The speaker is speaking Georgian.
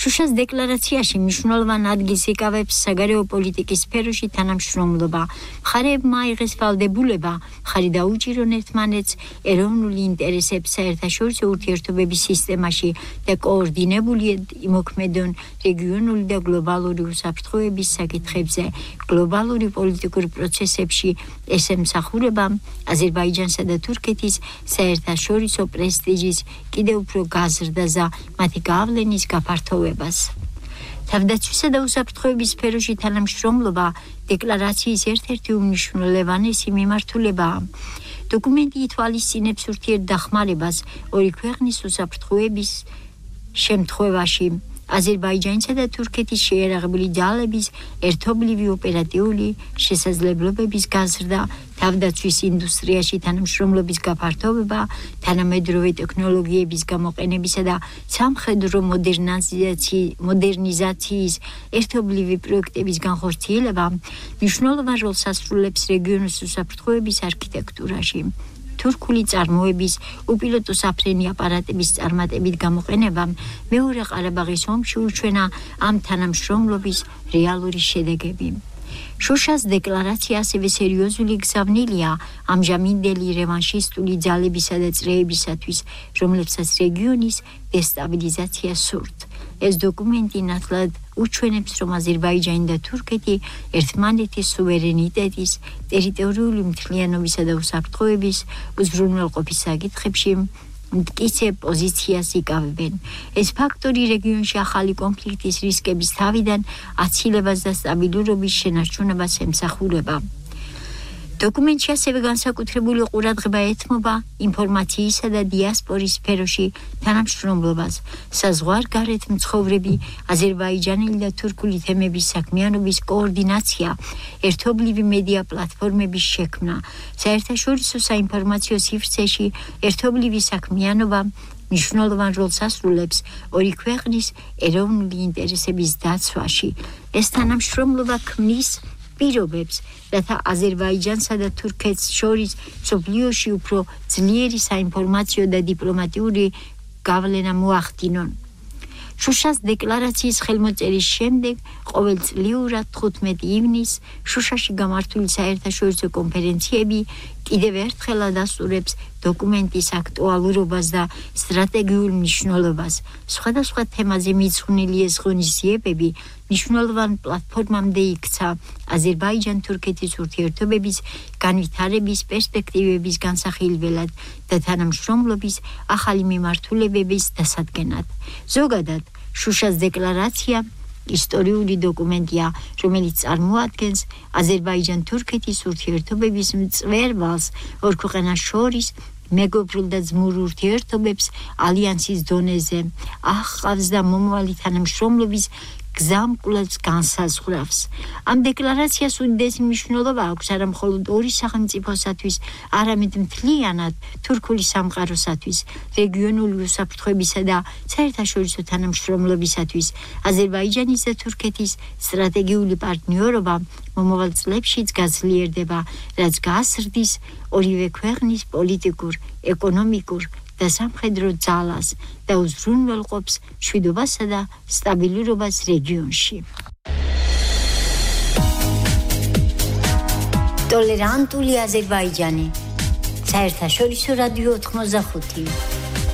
შუშას დეკლარაციაში მნიშვნელოვან ადგილს იკავებს საგარეო პოლიტიკის სფეროში თანამშრომლობა. მხარეებმა აიღეს ვალდებულება მხარი დაუჭირონ ერთმანეთს ეროვნული ინტერესებს საერთაშორისო ურთიერთობების სისტემაში და კოორდინებულად იმოქმედონ რეგიონული და გლობალური უსაფრთხოების საკითხებზე. გლობალური პოლიტიკურ პროცესებში ეს ემსახურება აზერბაიჯანსა და თურქეთის საერთაშორისო პრესტიჟის კიდევ უფრო გაზრდას და მათი გავლენის გაფართოვებას. თავდაცვისა და უსაფრთხოების სფეროში თანამშრომლობა დეკლარაციის ერთ-ერთი უმნიშვნელოვანესი მიმართულებაა. დოკუმენტი ითვალისწინებს ურთიერთდახმარებას ორი ქვეყნის უსაფრთხოების შემთხვევაში. აზერბაიჯანისა და თურქეთის შეიარაღებული ძალების ერთობლივი ოპერატიული შესაძლებლობების გაზრდა, თავდაცვის ინდუსტრიაში თანამშრომლობის გაფართოვება, თანამედროვე ტექნოლოგიების გამოყენებისა და სამხედრო მოდერნიზაციის ერთობლივი პროექტების განხორციელება მნიშვნელოვან როლს ასრულებს რეგიონის უსაფრთხოების არქიტექტურაში. თურქული წარმოების უპილოტო საფრენი აპარატების წარმატებით გამოყენებამ მეორე ყარაბაღის ომში უჩვენა ამ თანამშრომლობის რეალური შედეგები. შუშას დეკლარაცია ასევე სერიოზული გზავნილია ამჟამინდელი რევანშისტული ძალებისა და წრეებისათვის, რომლებსაც რეგიონის დესტაბილიზაცია სურთ. ეს დოკუმენტი ნათლად უჩვენებს, რომ აზერბაიჯანი და თურქეთი ერთმანეთის სუვერენიტეტის, ტერიტორიული მთლიანობისა და უსაფრთხოების უზრუნველყოფის საკითხებში მტკიცე პოზიციას იკავებენ. ეს ფაქტორი რეგიონში ახალი კონფლიქტის რისკების თავიდან აცილებას და სტაბილურობის შენარჩუნებას ემსახურება. დოკუმენტში ასევე განსაკუთრებული ყურადღება ეთმობა ინფორმაციისა და დიასპორის სფეროში თანამშრომლობას. საზღვარგარეთ მცხოვრები აზერბაიჯანელი და თურქული თემების საქმიანობის კოორდინაცია, ერთობლივი მედია პლატფორმების შექმნა, საერთაშორისო საინფორმაციო სივრცეში ერთობლივი საქმიანობა მნიშვნელოვან როლს ასრულებს ორი ქვეყნის ეროვნული ინტერესების დაცვაში. ეს თანამშრომლობა ქმნის პირობებს, რათა აზერბაიჯანსა და თურქეთს შორის მსოფლიოში უფრო ძლიერი საინფორმაციო და დიპლომატიური გავლენა მოახდინონ. შუშას დეკლარაციის ხელმოწერის შემდეგ ყოველწლიურად 15 ივნისს შუშაში გამართული საერთაშორისო კონფერენციები კიდევ ერთხელ ადასტურებს დოკუმენტის აქტუალურობას და სტრატეგიულ მნიშვნელობას. სხვადასხვა თემაზე მიძღვნილი ეს ღონისძიებები მნიშვნელოვან პლატფორმამდე იქცა აზერბაიჯან-თურქეთის ურთიერთობების განვითარების პერსპექტივების განსახილველად და თანამშრომლობის ახალი მიმართულებების დასადგენად. ზოგადად, შუშას დეკლარაცია ისტორიული დოკუმენტია, რომელიც წარმოადგენს აზერბაიჯან-თურქეთის ურთიერთობების მწვერვალს ორ ქვეყანას შორის მეგობრულ და ძმურ ურთიერთობებს ალიანსის დონეზე, ახავს და მომავალი თანამშრომლობის გზამკვლელს განსაზღვრავს. ამ დეკლარაციას უდიდესი მნიშვნელობა აქვს არა მხოლოდ ორი სახელმწიფოსათვის, არამედ მთლიანად თურქული სამყაროსათვის, რეგიონული უსაფრთხოებისა და საერთაშორისო თანამშრომლობისათვის. აზერბაიჯანის და თურქეთის სტრატეგიული პარტნიორობა მომავალ წლებშიც გაძლიერდება, რაც გასრდის ორივე ქვეყნის პოლიტიკურ, ეკონომიკურ და სამხედრო ძალას და უზრუნველყოფს მშვიდობასა და სტაბილურობას რეგიონში. ტოლერანტული აზერბაიჯანი. საერთაშორისო რადიო 85